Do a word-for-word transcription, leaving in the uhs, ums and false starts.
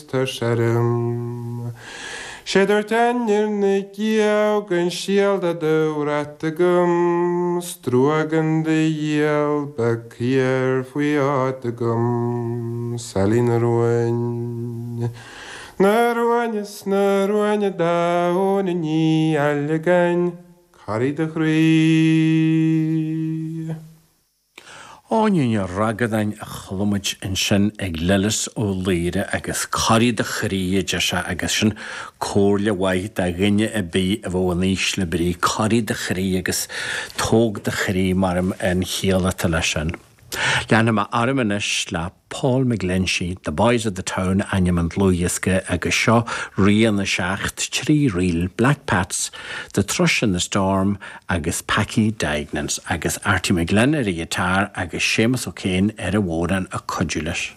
Tá seirm. Sé dúirt ainir na gceann sialda dúrat agam, Struagan de dhéal be céir faoi áit agam, Sailí na ruin. Na ruaine na ruaine daóna ní eile cairí de chroí. Áine Ní Ragadáin a chuala muid ansin ag Lillis Ó Laoire agus corraigh do chroí a deir sé agus sin comhairle mhaith do dhuine ar bith a bheadh in ísle brí corraigh do chroí agus tóg do chroí mar an chiall atá leis sin. Leanfaidh mé orm anois le Paul McGlinchey, The Boys of the Town ainm an dlúthdhiosca agus seo rian a seacht trí ríl Black Pats, The Thrush in the Storm agus Packie Deignans agus Artie McGlynn ar an ghiotár agus Séamus O'Kane ar an bhodhrán ag cuidiú leis.